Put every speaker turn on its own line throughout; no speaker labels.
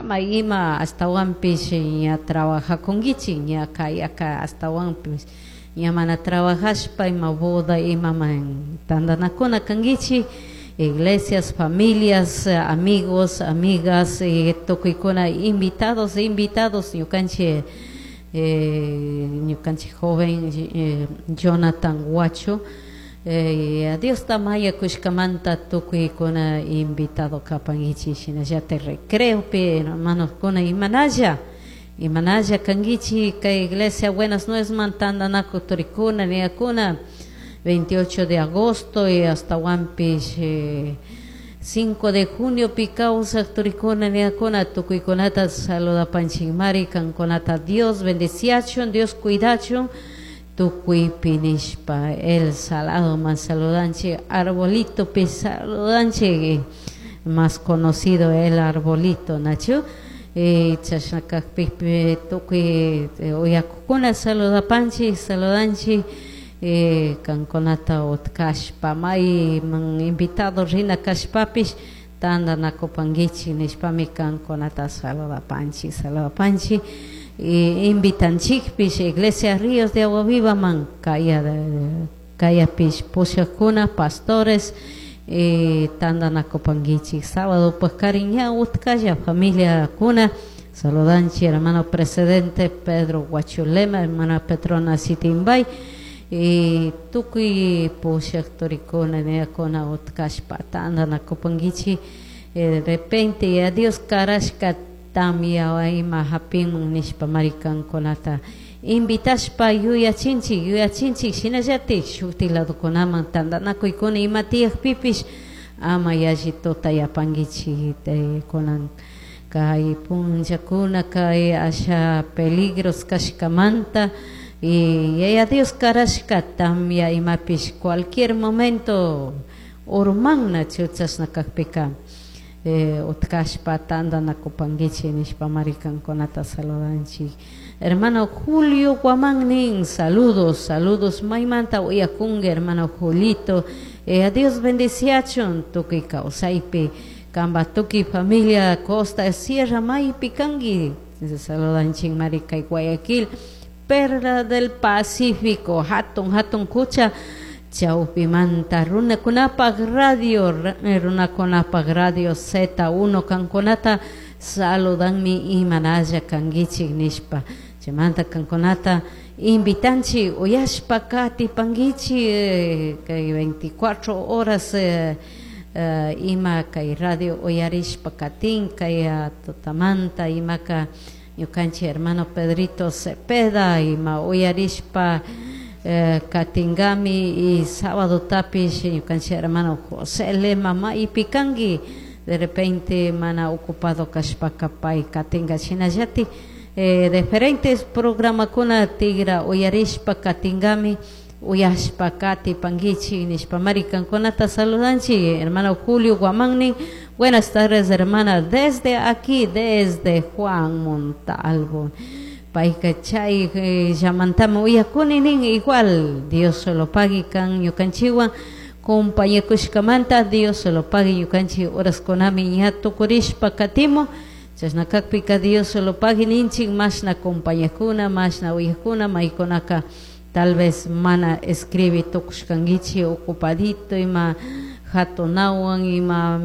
Ama ima ashtahuanpish ña trabajacunguichik, ña kayaka ashtahuanpish ña mana trabajashpa ima boda imaman tandanakuna kanguichik. Iglesias, familias, amigos, amigas, tukuykuna invitados, invitados ñukanchik, ñukanchik joven Jonathan Huacho, Diosta mañakushkamanta tukuykuna invitado kapankichik. Shinallatik recreopi hermanokuna imanalla imanalla kankichik kay iglesia Buenas Nuevasman tandanakuy turikuna niyakuna 28 de agosto y ashtawanpish 5 de junio pi kawsak turikuna niyakuna tukuykunata saludapanchikmari. Kankunata Dios bendiciachun, Dios cuidachun tukuypi nishpa. El Saladoman saludanchik, Arbolitopi saludanchik, más conocido el Arbolito, nachu? Chashna kakpipi tukuy uyakukuna saludapanchik, saludanchik. Kankunata utkashpa mayman invitado rina kashpapish tandanakupankichik nishpami kankunata saludapanchik, saludapanchik. Invitanchikpish Iglesia Ríos de Agua Vivaman kaya kayapish pushakuna pastores tandanakupankichik sábado pakarin ña utkalla familiakuna. Saludanchik hermano presidente Pedro Huachulema, hermana Petrona Sitimbay y tukuy pushak turikuna niyakuna utkashpa tandanakupankichik. De repente a Dios karashka tamya ima hapinman nishpa mari kankunata invitashpa yuyachinchik, yuyachinchik. Shinallatik shuktik ladokunaman tandanakuykuna ima tiyakpipish ama yalli tutayapankichik. Kunan kay punllakuna kay asha peligros kashkamanta y Yaya Dios karashka tamya imapish cualquier momento urmanna. Chashna kakpika utkashpa tandanakupankichik nishpa mari kankunata saludanchik. Hermano Julio Guamán nin, saludos, saludos, maymanta uyakunki hermano Julito, a Dios bendiciachun tukuy kawsaypi, kanpa tukuy familia Costa Sierra maypi kanki, saludanchik mari kay Guayaquil, Perla del Pacífico, hatun hatun kucha chawpimanta runakunapak radio, runakunapak radio Z1 kankunata saludanmi imanalla kankichik nishpa. Chaymanta kankunata invitanchik uyashpa katipankichik kay 24 horas ima kay radio uyarishpa katin kay tutamanta imaka ñukanchik hermano Pedrito Cepeda ima uyarishpa katingami y sábado tapish ñukanchik hermano José Lema maypi kanki, de repente mana ocupado kashpaka pay katinga. Shinallatik diferentes programakuna tigra uyarishpa katingami, uyashpa katipankichik nishpa mari kankunata saludanchik. Hermano Julio Guamán, buenas tardes, hermana, desde aquí, desde Juan Montalvo, payka chay llamantami uyakuni nin. Igual Dios se lo pague kan ñukanchikwan compañakushkamanta, Dios se lo pague. Ñukanchik horaskunami ña tukurishpa katimun. Chashna kakpika Dios se lo pague ninchik mashna compañakuna, mashna uyakuna maykunaka tal vez mana escribi tukushkankichik ocupadito ima hatunawan ima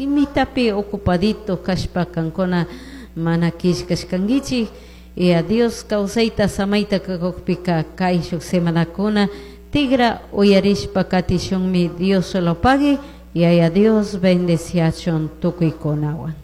imitapi ocupadito kashpa kankuna mana killkashkankichik. Y a Dios kawsayta samayta kakukpika kayshuk semanakuna tigra uyarishpa katishunmi. Dios se lo pague y a Dios bendeciachun tukuykunawan.